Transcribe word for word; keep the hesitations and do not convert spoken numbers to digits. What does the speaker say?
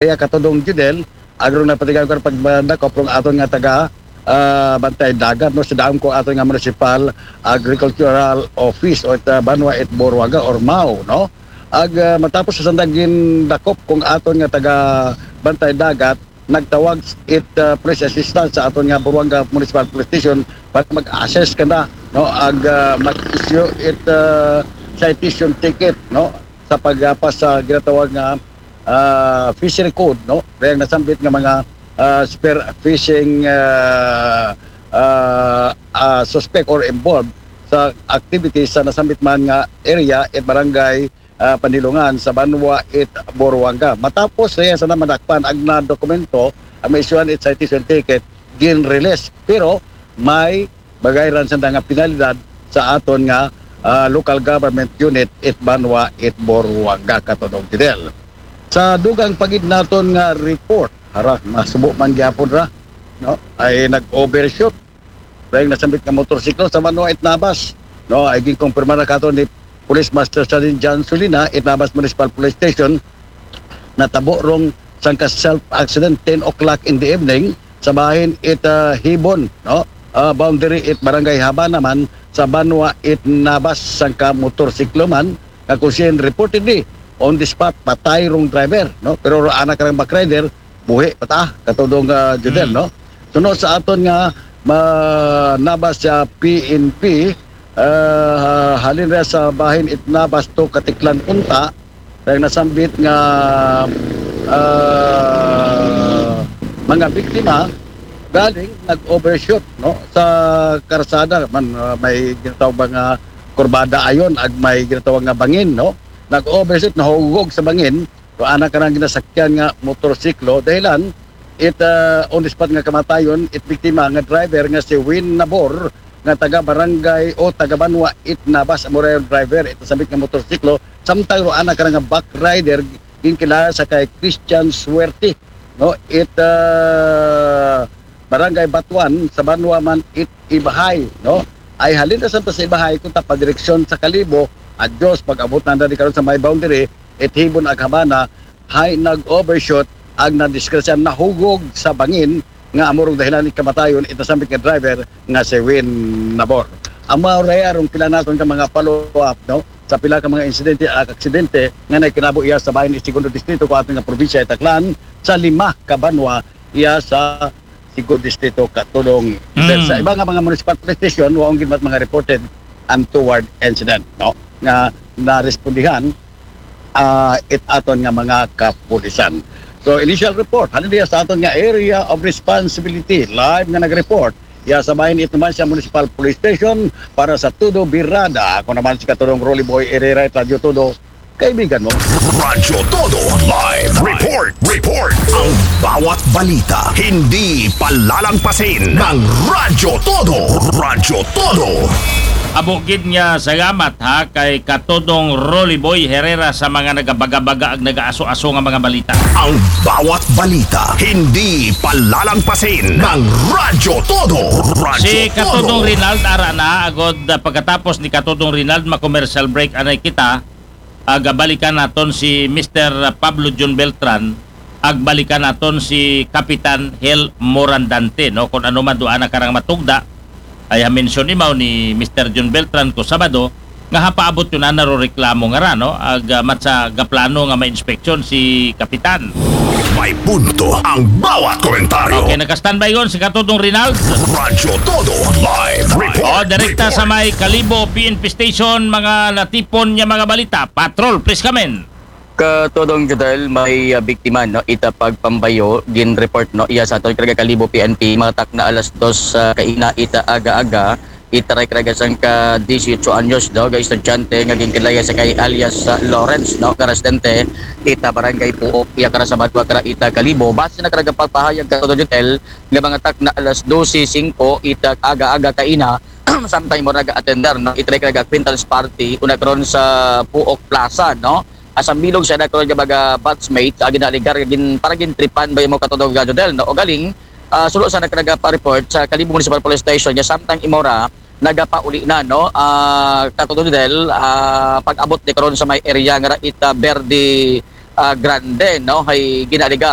Area, Katodong Judel, agrong napatigayon kan pagdakop rong aton nga taga ah, Bantay Dagat, no, sa daom ko aton nga Municipal Agricultural Office o ita Banwa it Boruaga or MAO, no? Ag ah, matapos sa sandang gindakop kong aton nga taga Bantay Dagat, nagtawag it ah, police assistance sa aton nga Boruaga Municipal Police Station para mag-assess kanda, no, ag ah, mag-issue it ah, citation ticket, no, sa paggapas sa ginatawag nga ah, fishery code, no? Kaya nasambit nga mga ah, spear fishing ah, ah, ah, suspect or involved sa activities sa nasambit man nga area at barangay ah, Panilungan sa Banwa it Boruanga. Matapos siya sa namadakpan ag na dokumento ang maisyuhan it citation ticket, gin-release. Pero may bagay ran sa nga penalidad sa aton nga ah, local government unit it Banwa it Boruanga, Katodong Fidel. Sa dugang pagid naton nga report, hara, masubo man gyapon ra, no? Ay nag-overshoot dahil nasambit nga motorsiklo sa Banwa it Nabas, no? Ay ginkumpirma na kato ni Police Master Sergeant John Sulina, it Nabas Municipal Police Station, natabo rong sangka self accident ten o'clock in the evening sa bahin it ah, Hibon, no? Ah, boundary it Barangay Haba naman sa Banwa it Nabas sangka motorsiklo man nga kusin reportedly on the spot patay rong driver, no? Pero anak karang back rider buhi pa ta, Katodong ah, Judel, no? Suno sa aton nga ma, Nabas sa P N P, ah, halin ra sa bahin it Nabas to Katiklan unta, kaya nasambit nga ah, mga biktima galing nag-overshoot, no, sa karsada man, ah, may ginatawag ba nga kurbada ayon ag may ginatawag nga bangin, no, nag-overshoot, nahugog sa bangin. So anak ka ng ginasakyan nga motorsiklo dahilan it ah, on the spot nga kamatayon it biktima nga driver nga si Win Nabor nga taga barangay o taga Banwa it Nabas, amo ra yung driver it nasambit nga motorsiklo. Samtang ro anak ka nga back rider ginkilala sa kay Christian Suerte, no, it ah, barangay Batuan sa Banwa man it Ibahay, no? Ay halin na sa Ibahay kung tapadireksyon sa Kalibo, adyos, pag-abot na di karon sa may boundary it Hibon ag Habana, hay nag-overshoot ag nadisgrasya, nahugog sa bangin nga amo rong dahilan ni kamatayon it nasambit nga driver nga si Win Nabor. Ang mga oraya rong pila naton ka mga follow-up, no, sa pila ka mga insidente at aksidente nga nagkinabo iya sa bahin it segundo distrito ko aton nga probinsya it Aklan, sa lima ka Banwa iya sa segundo distrito, Katodong Fidel. Sa iba nga mga municipal police station, waong ginmat mga reported untoward incident, no, nga narespondihan ah, it aton nga mga kapulisan. So, initial report, halin diya sa aton nga area of responsibility, live nga nag-report. Ya sa bahin it naman sa Municipal Police Station para sa Todo Birada. Ako naman si Katulong Rolly Boy Herrera, Radyo Todo, kaibigan mo. Radyo Todo Live Report. Report. Ang bawat balita, hindi palalampasin ng Radyo Todo. Radyo Todo. Amo gid nga salamat ha kay Katodong Rolly Boy Herrera sa mga nagabaga-baga ag nagaaso-aso nga mga balita. Ang bawat balita, hindi palalampasin ng Radyo Todo. Radyo Si Katodong Todo. Rinald ara na agod ah, pagkatapos ni Katodong Rinald ma-commercial break anay kita, ag balikan naton si Mister Pablo John Beltran, ag balikan naton si Kapitan Hel Morandante, no? Kung ano man duha na karang matugda, ay ha-mention imaw ni Mister John Beltran ko Sabado, nga hapaabot yun na naro reklamo nga ra, no? Ag ah, matsa gaplano nga ma-inspeksyon si Kapitan. May punto ang bawat komentaryo. Okay, naka-standby yun si Katodong Rinald. Radyo Todo Live Report. O, direkta sa Report. may Kalibo P N P Station, mga natipon niya mga balita. Patrol, please come in. Katodong Judel, may ah, biktima, no, ita pagpambayo, gin-report, no, iya sa aton karga Kalibo P N P, matak na alas dos sa kaina ita aga-aga, itaray karga sang ka dieciocho anyos, no, ga estudyante nga ginkilaya sa kay alias ah, Lawrence, no, karastente ita barangay Puok, iya kara sa Badwa kara ita Kalibo. Base na karga pagpahayag, Katodong Judel, nga mga tak na alas dose singko ita aga-aga kaina, samtang mo naga-attender, no, itaray karga acquaintance party una karon sa Puok Plaza, no. Asa bilog sa nagkaroon nga mga batchmate, agi na ligar gin para gintripan ba mo, Katodong Judel, no? O galing, ah, sulo sa nagkanaga pa report sa Kalibo Municipal Police Station, nga samtang imora nagapauli na, no? Ah, Katodong Judel, ah, pag-abot ni karon sa may area nga ra ita Verde, ah, Grande, no, hay ginaaligar